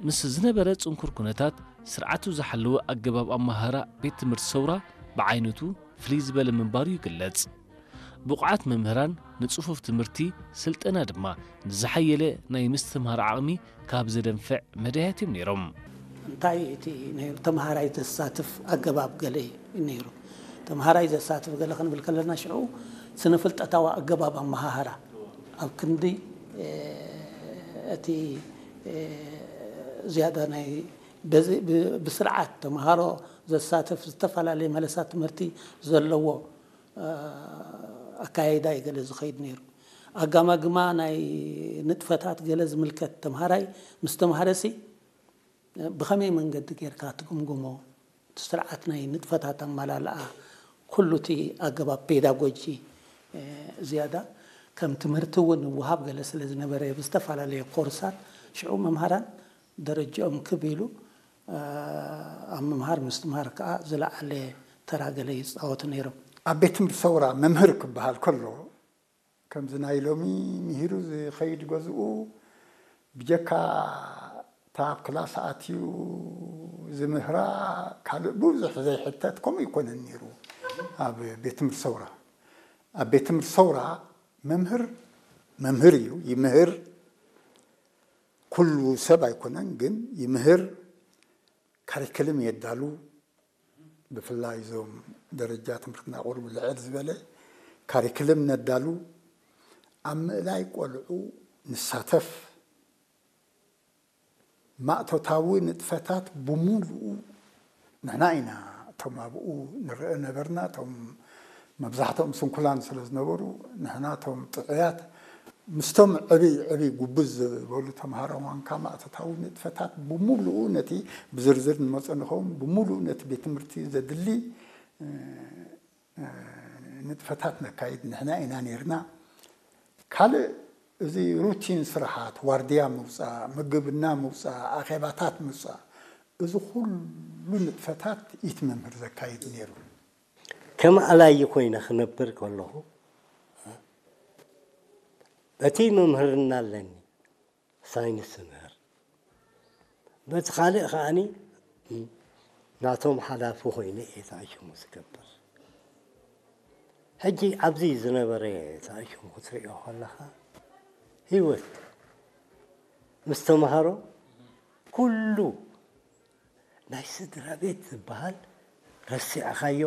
ምስ ዝነበረ ጽንኩር ኩነታት፣ ስርዓቱ ዝሓለወ ኣገባብ ኣመሃህራ ቤት ትምህርቲ ሰውራ ብዓይነቱ ፍልይ ዝበለ ምንባሩ ይግለጽ። ብቑዓት መምህራን፣ ንጽፉፍ ትምህርቲ፣ ስልጠና ድማ ንዝሓየለ ናይ ምስትምሃር ዓቕሚ ካብ ዘደንፍዕ መዳያት እዮም ነይሮም። እንታይ እቲ ነይሩ? ተምሃራይ ዘሳትፍ ኣገባብ ገለ እዩ ነይሩ። ተምሃራይ ዘሳትፍ ገለ ክንብል ከለና፣ ሽዑ ስነ ፍልጠታዊ ኣገባብ ኣመሃህራ ኣብ ክንዲ፣ እ፣ እቲ፣ እ፣ ዝያዳ ናይ በዚ ብ-፣ ብስርዓት ተምሃሮ ዘሳትፍ ዝተፈላለየ መለሳት ትምህርቲ ዘለዎ፣ እ፣ ኣካያይዳ እዩ ገለ ዝኸይድ ነይሩ። ኣጋማግማ ናይ ንጥፈታት ገለ ዝምልከት ተምሃራይ ምስ ተምሃረሲ ብኸመይ መንገዲ ጌርካ ትግምግሞ? እቲ ስርዓት ናይ ንጥፈታት ኣመላልኣ፣ ኩሉ እቲ ኣገባብ ፔዳጎጂ፣ እ፣ ዝያዳ ከም ትምህርቲ እውን ይወሃብ ገለ ስለ ዝነበረ፣ ብዝተፈላለየ ኮርሳት ሽዑ መምሃራን ደረጃኦም ክብ ኢሉ፣ እ፣ ኣብ ምምሃር ምስትምሃር ከኣ ዝለዓለ ተራ ገለ ይጻወቱ ነይሮም። ኣብ ቤት ትምህርቲ ሰውራ መምህር ክበሃል ከሎ፣ ከምዚ ናይ ሎሚ ምሂሩ ዝኸይድ ገዝኡ፣ ብጀካ እታ ኣብ ክላስ ኣትዩ ዝምህራ ካልእ ብዙሕ ዘይሕተት፣ ከምኡ ኣይኮነን ነይሩ። ኣብ ቤት ትምህርቲ ሰውራ፣ ኣብ ቤት ትምህርቲ ሰውራ መምህር መምህር እዩ፣ ይምህር። ኩሉ ሰብ ኣይኮነን ግን ይምህር። ካሪክልም የዳሉ። ብፍላይ እዞም ደረጃ ትምህርትና ቁሩብ ልዕል ዝበለ ካሪክልም ነዳሉ። ኣብ ምእላይ ቆልዑ ንሳተፍ። ማእቶታዊ ንጥፈታት ብሙሉኡ ንሕና ኢና እቶም ኣብኡ ንርአ ነበርና። እቶም መብዛሕትኦም ስንኩላን ስለ ዝነበሩ፣ ንሕና እቶም ጥዑያት ምስቶም ዕብይ ዕብይ ጉብዝ ዝበሉ ተምሃሮ ኳንካ፣ ማእቶታዊ ንጥፈታት ብሙሉኡ፣ ነቲ ብዝርዝር ንመጾ ንኸውን፣ ብሙሉኡ ነቲ ቤት ትምህርቲ ዘድሊ፣ እ፣ እ፣ ንጥፈታት ነካይድ ንሕና ኢና ነይርና። ካልእ፣ እዚ ሩቲን ስራሓት፣ ዋርድያ ምውጻእ፣ ምግብና ምውጻእ፣ ኣኼባታት ምውጻእ፣ እዚ ኩሉ ንጥፈታት ኢቲ መምህር ዘካይድ ነይሩ። ከም ኣላዪ ኮይነ ክነብር ከለኹ፣ በቲ መምህርና ኣለኒ፣ ሳይንስ እምህር። በቲ ካልእ ከኣኒ፣ ናቶም ሓላፊ ኮይነ እየ ተኣሽሙ ዝገብር። ሕጂ ኣብዚ ዝነበረ ተኣሽሙ ክትሪኦ ከለኻ፣ ህይወት ምስ ተምሃሮ ኩሉ ናይ ስድራ ቤት ዝበሃል ረሲዕኻዮ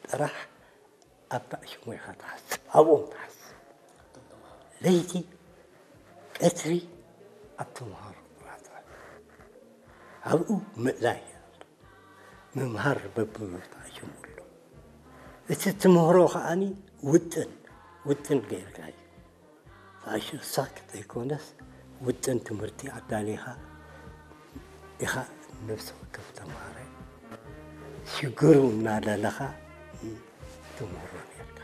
ጥራሕ ኣብ ተኣሽሙ ኢኻ ትሓስብ፣ ኣብኦም ትሓስብ። ለይቲ ቀትሪ ኣብ ተምሃሮ ጥራሕ ትሕስብ። ኣብኡ ምእላይ ኣሎ። ምምሃር በብብርቱ ኣጀምርሉ። እቲ ትምህሮ ከኣኒ ውጥን፣ ውጥን ጌርካ እዩ። ተኣሽሳ ዘይኮነስ ውጥን ትምህርቲ ኣዳሊኻ ኢኻ ነፍሲ ወከፍ ተምሃራይ ሽግሩ እናደለኻ ትምህሮ ኔርካ።